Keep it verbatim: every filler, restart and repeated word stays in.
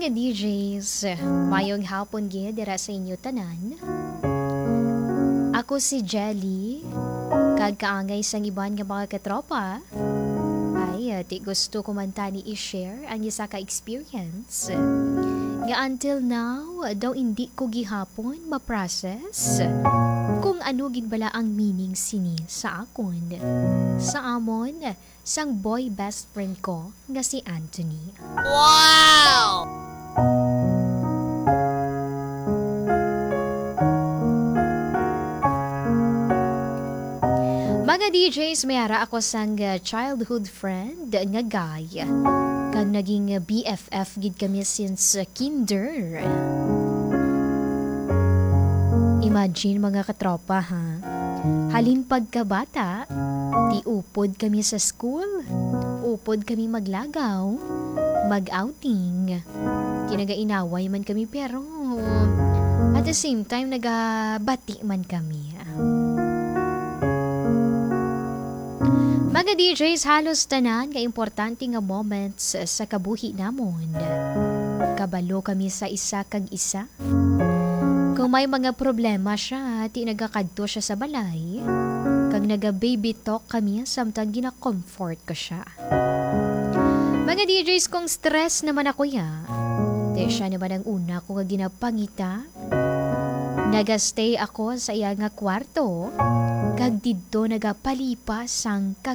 Mga D Js, mayong hapon gid dira sa inyo tanan. Ako si Jelly, kag kaangay sang iban nga mga katropa. Ay, ti gusto ko man tani i-share ang isa ka experience nga until now daw hindi ko gihapon ma-process kung ano gid bala ang meaning sini sa akon, sa amon, sang boy best friend ko nga si Anthony. Wow! Mga D Js, may ara ako sang, uh, childhood friend nga guy. Kag naging, uh, B F F gid kami since, uh, kinder. Imagine, mga katropa, ha? Halin pagkabata, ti upod kami sa school, upod kami maglagaw, mag-outing. Ti nagainaway man kami, pero at the same time, nagabati man kami. Mga D Js, halos tanan nga importante nga moments sa kabuhi namon, kabalo kami sa isa kag isa. Kung may mga problema siya, ti nagakadto siya sa balay, kag naga-baby talk kami samtang gina-comfort ko siya. Mga D Js, kung stress naman ako ya, ti siya naman ang una ko nga ginapangita. Naga-stay ako sa iya nga kwarto, kag didto nagapalipas ang